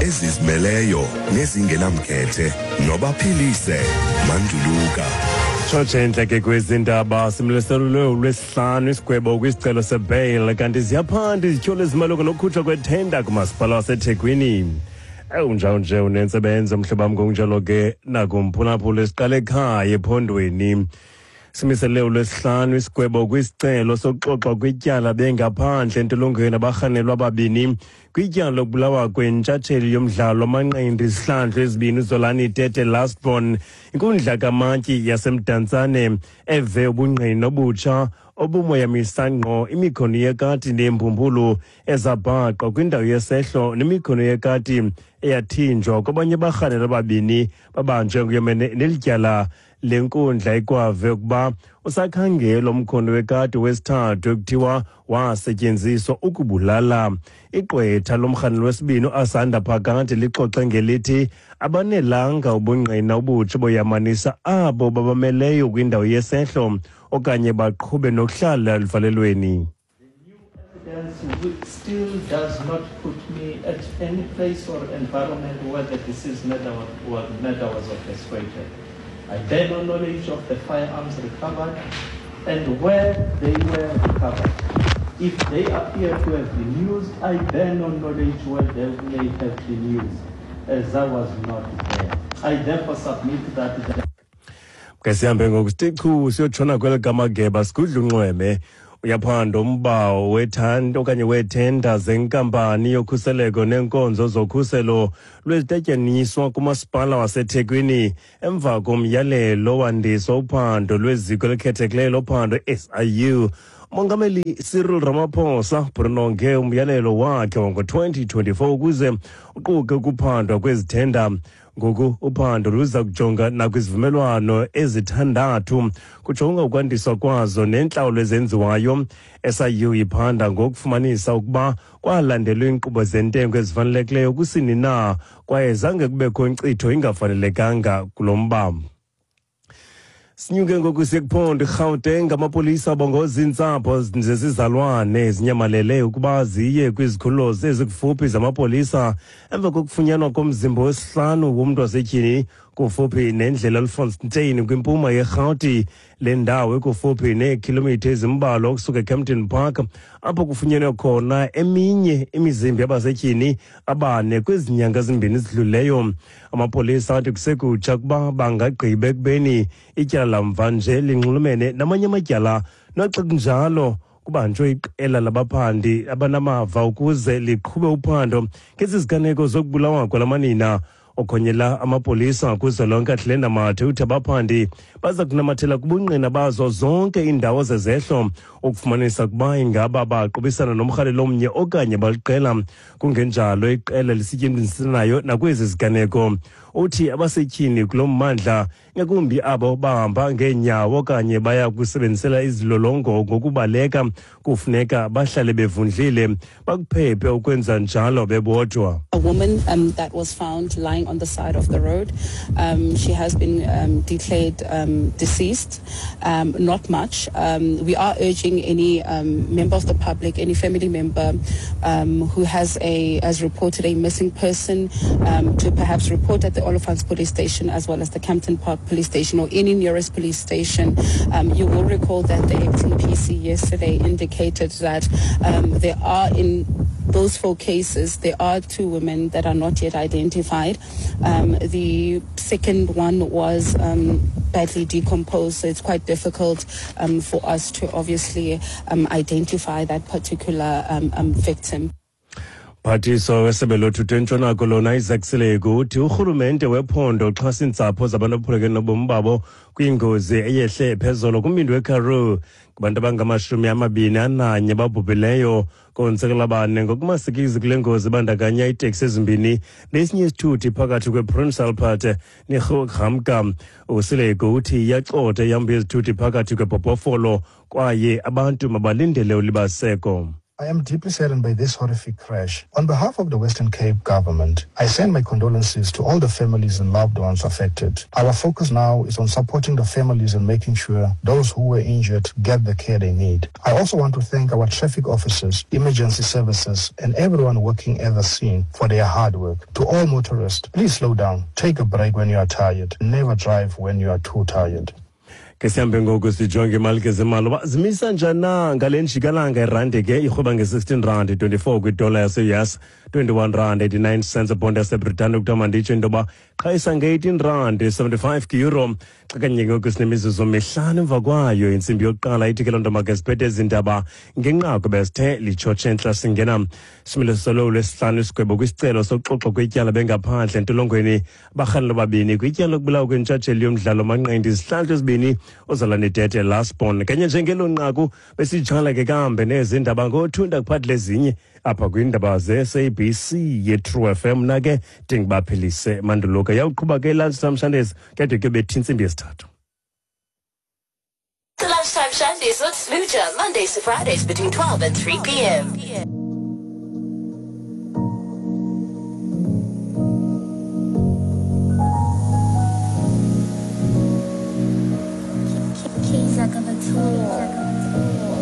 Ezizimeleyo nezingenamkhethe nobaphilise Manduluka. Tshotshe entle ke kwezi ndaba simliselwe ulwesihlanu isigwebo kwisicelo sebail kanti ziyaphanda izityholo ezimalunga nokukhutshwa kwethenda kumasipala waseThekwini. Ewunjalo nje unentsebenzo mhlobo wam ngokunjalo ke nakumphulaphula siqale ekhaya ephondweni. Simisele ulwesihlanu isigwebo kwisicelo sokuxoxwa kwityala bengaphandle entolongweni abarhanelwa ababini kwityala lokubulawa kwentshatsheli yomdlalo wamanqindi izihlandlo ezibini uZolani Tete Lastborn. Inkundla kamantyi yaseMdantsane eve ubungqina obutsha obumoyamisa ngqo imikhono yekati nembumbulu ezabhaqwa kwindawo yesehlo nemikhono yekati eyathinjwa kwabanye abarhanelwa ababini babanjwe nguyomene neli tyala. Le nkundla ikwave ukuba usakhangela umkhondo wekati wesithathu ekuthiwa wasetyenziswa ukubulala. Igqwetha lomrhanelo wesibini uAsanda Phakade lixoxe ngelithi abanelanga ubungqina obutsha boyamanisa abo babameleyo kwindawo yesehlo okanye baqhube nokuhlala eluvalelweni. Evidence still does not put me at any place or environment where the deceased murder was, murder was orchestrated. I bear no knowledge of the firearms recovered and where they were recovered. If they appear to have been used, I bear no knowledge where they may have been used, as I was not there. I therefore submit that the Ke sihambe ngoku sithi chu siyotshona kweli kamageba sigudla unxweme. Uyaphanda umba wethanda okanye weethenda zenkampani yokhuseleko neenkonzo zokhuselo lwezitatyaniswa kumasipala waseThekwini emva komyalelo wandiswa uphando lweziko elikhethekileyo lophando SIU. Umongameli Cyril Ramaphosa uphonononge umyalelo wakhe wango-2024 ukuze uquke ukuphandwa kwezithenda. Ngoku uphando luza kujonga nakwizivumelwano ezithandathu kujonga ukwandiswa kwazo neentlawulo ezenziwayo. SIU iphanda ngokufumanisa ukuba kwalandelwa iinkqubo zentengo ezifanelekileyo kusini na kwaye zange kubekho inkcitho ingafanelekanga kulo mba. Sinyuke ngoku siye kuphondo iGauteng. Amapolisa abongoza iintsapho zezizalwane ezinyamalele ukuba ziye kwizikhululo ezikufuphi zamapolisa emva kokufunyanwa komzimba wesihlanu womntu wasetyhini kufuphi nendlela Olifantsfontein kwimpuma yeRhawuti. Le ndawo ikufuphi neekhilomitha ezimbalwa ukusuka eKempton Park apho kufunyenwe khona eminye imizimba yabasetyhini abane kwezi nyanga zimbini zidluleyo. Amapolisa athi kusekutsha ukuba bangagqiba ekubeni ityala lamva nje linxulumene namanye amatyala. Noxa kunjalo kubanjwe iqela labaphandi abanamava ukuze liqhube uphando ngezi ziganeko zokubulawa kwalamanina. Okhonyela amapolisa kuzwelonke Athlenda Mathe uthi abaphandi baza kunamathela kubungqina bazo zonke iindawo zezehlo ukufumanisa ukuba ingaba baqubisana nomrhalelo omnye okanye baliqela, kungenjalo iqela lisetyenzisanayo nakwezi ziganeko. Uthi abasetyhini kulo mmandla, ngakumbi abo bahamba ngeenyawo okanye baya kusebenzisela izilolongo ngokubaleka, kufuneka bahlale bevundlile, bakuphephe ukwenza njalo bebodwa. A woman that was found lying on the side of the road. She has been declared deceased. Not much. We are urging any member of the public, any family member who has reported a missing person to perhaps report at the Olifants Police Station as well as the Kempton Park Police Station or any nearest police station. You will recall that the acting PC yesterday indicated that there are in those 4 cases, there are 2 women that are not yet identified. The second one was badly decomposed, so it's quite difficult for us to obviously identify that particular victim. Phathiswa wesebe lothutho eNtshona Koloni Isaac Sileku uthi urhulumente wephondo uxhasa iintsapho zabantu abaphulukene nobomi babo kwingozi eyehle phezolo kumbindi weKaroo. Kubantu abangama-21 babhubhileyo konzakala bane ngokumasikizi kule ngozi ibandakanya iiteksi ezimbini nesinye isithuthi phakathi kwePrince Albert neGroot. USileku uthi iyacotha ihambo yezithuthi phakathi kweBhobhofolo kwaye abantu mabalindele ulibaziseko. I am deeply saddened by this horrific crash. On behalf of the Western Cape government, I send my condolences to all the families and loved ones affected. Our focus now is on supporting the families and making sure those who were injured get the care they need. I also want to thank our traffic officers, emergency services, and everyone working at the scene for their hard work. To all motorists, please slow down, take a break when you are tired, never drive when you are too tired. Ke sihambe ngoku sijonge imali ke zemali uba zimisa njani na ngale njikalanga. Irandi ke irhweba nge-16 rand 24 kwidola yase-US, 21 rand 89 cents ebhondi yaseBritane. Kuthiwa manditsho into yoba qhayisa nge-18 rand 75 kwi-euro. Xa kanye ngoku sinemizuzu 5 emva kwayo intsimbi yokuqala, ithi ke loo nto make siphethe ezi ndaba ngenqaku besithe litshotshe entla. Singena similo solo lwesihlanu isigwebo kwisicelo sokuxoxwa kwetyala bengaphandle entolongweni barhanelo babini kwityala lokubulawa kwentshatsheli yomdlalo manqindi izihlandlo ezibini uZolani Tete Lastborn. Kanye njengelo nqaku besitshala ke kambe nezi ndaba ngothunda kuphathile ezinye apha kwiindaba ze-SABC ye-True FM. Na ke ndinguBaphilise Manduluka. Yawuqhuba ke Lunchtime Shandays kade kuyobetha intsimbi yesithathu. The Lunchtime Shandies with Smooja, Mondays to Fridays between 12 and 3 p.m.